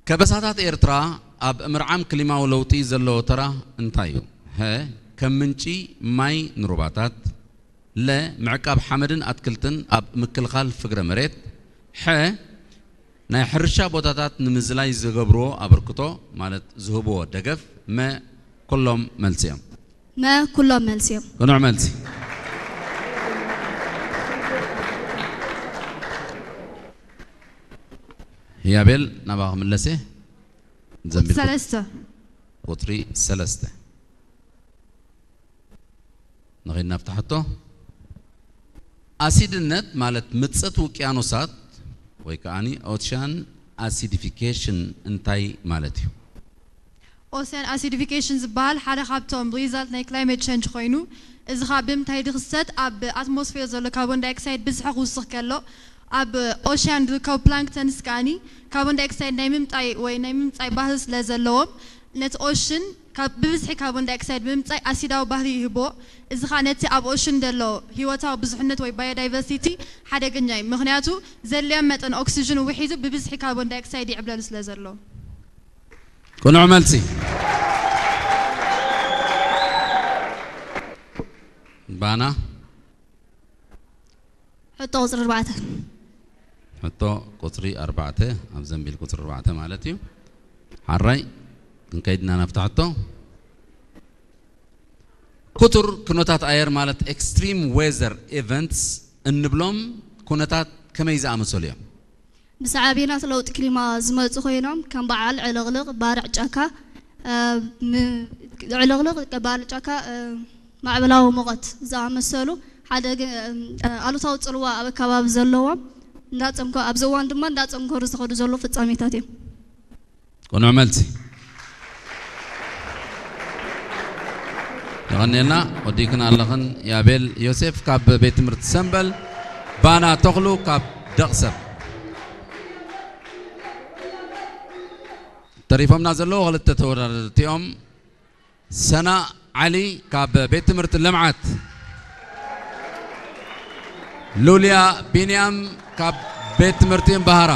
ከበሳታት ኤርትራ ኣብ ምርዓም ክሊማዊ ለውጢ ዘለዎ ተራ እንታይ እዩ? ሀ፣ ከም ምንጪ ማይ ንሩባታት፣ ለ፣ ምዕቃብ ሓመድን ኣትክልትን ኣብ ምክልኻል ፍግረ መሬት፣ ሐ፣ ናይ ሕርሻ ቦታታት ንምዝላይ ዝገብርዎ ኣበርክቶ ማለት ዝህብዎ ደገፍ፣ መ፣ ኩሎም መልሲ እዮም። መ፣ ኩሎም መልሲ እዮም። ቅኑዕ መልሲ። ያቤል ናባኻ ክምለስ እየ። ዘንቢል ቁ- ሰለስተ። ቁፅሪ ሰለስተ ንኸይድ ናብታ ሕቶ። ኣሲድነት ማለት ምፀት ውቅያኖሳት ወይ ከዓኒ ኦሽያን ኣሲዲፊኬሽን እንታይ ማለት እዩ? ኦሰን ኣሲዲፊኬሽን ዝበሃል ሓደ ካብቶም ሪዛልት ናይ ክላይሜት ቸንጅ ኮይኑ፣ እዚ ኸዓ ብምንታይ ድኽሰት? ኣብ ኣትሞስፌር ዘሎ ካርቦን ዳይኦክሳይድ ብዝሒ ክውስኽ ከሎ፣ ኣብ ኦሽያን ዝርከቡ ፕላንክተንስ ከዓኒ ካርቦን ዳይኦክሳይድ ናይ ምምጣይ ወይ ናይ ምምጻይ ባህሪ ስለ ዘለዎም፣ ነቲ ኦሽን ካብ ብብዝሒ ካርቦን ዳይኦክሳይድ ብምምጻይ ኣሲዳዊ ባህሪ ይህቦ። እዚ ኸዓ ነቲ ኣብ ኦሽን ዘሎ ህይወታዊ ብዙሕነት ወይ ባዮዳይቨርሲቲ ሓደገኛ እዩ። ምኽንያቱ ዘድልዮም መጠን ኦክሲጅን ውሒዙ ብብዝሒ ካርቦን ዳይኦክሳይድ ይዕብለሉ ስለ ዘሎ። ቅኑዕ መልሲ። ባና ሕቶ ቁፅሪ ኣርባዕተ። ሕቶ ቁፅሪ ኣርባዕተ ኣብ ዘንቢል ቁፅሪ ኣርባዕተ ማለት እዩ። ሓራይ ክንከይድና ናብታ ሕቶ። ክቱር ኩነታት ኣየር ማለት ኤክስትሪም ዌዘር ኢቨንትስ እንብሎም ኩነታት ከመይ ዝኣመሰሉ እዮም? ብሳዕቤናት ለውጢ ክሊማ ዝመፁ ኮይኖም ከም በዓል ዕልቕልቕ፣ ባርዕ ጫካ፣ እ፣ ም- ዕልቕልቕ፣ ባርዕ ጫካ፣ እ፣ ማዕበላዊ ሙቐት ዝኣመሰሉ ሓደ ግ- እ፣ ኣሉታዊ ፅልዋ ኣብ ኣከባቢ ዘለዎም እንዳፀምከ ኣብዚ እዋን ድማ እንዳፀምከሩ ዝኸዱ ዘለዉ ፍፃሜታት እዮም። ቅኑዕ መልሲ። የቐንየልና። ወዲእክን ኣለኽን ያቤል ዮሴፍ ካብ ቤት ትምህርቲ ሰምበል ባና ተኽሉ ካብ ደቕሰብ። ተሪፎምና ዘለዉ ክልተ ተወዳደርቲ እዮም። ሰና ዓሊ ካብ ቤት ትምህርቲ ልምዓት፣ ሉልያ ቢንያም ካብ ቤት ትምህርቲ እምባሃራ።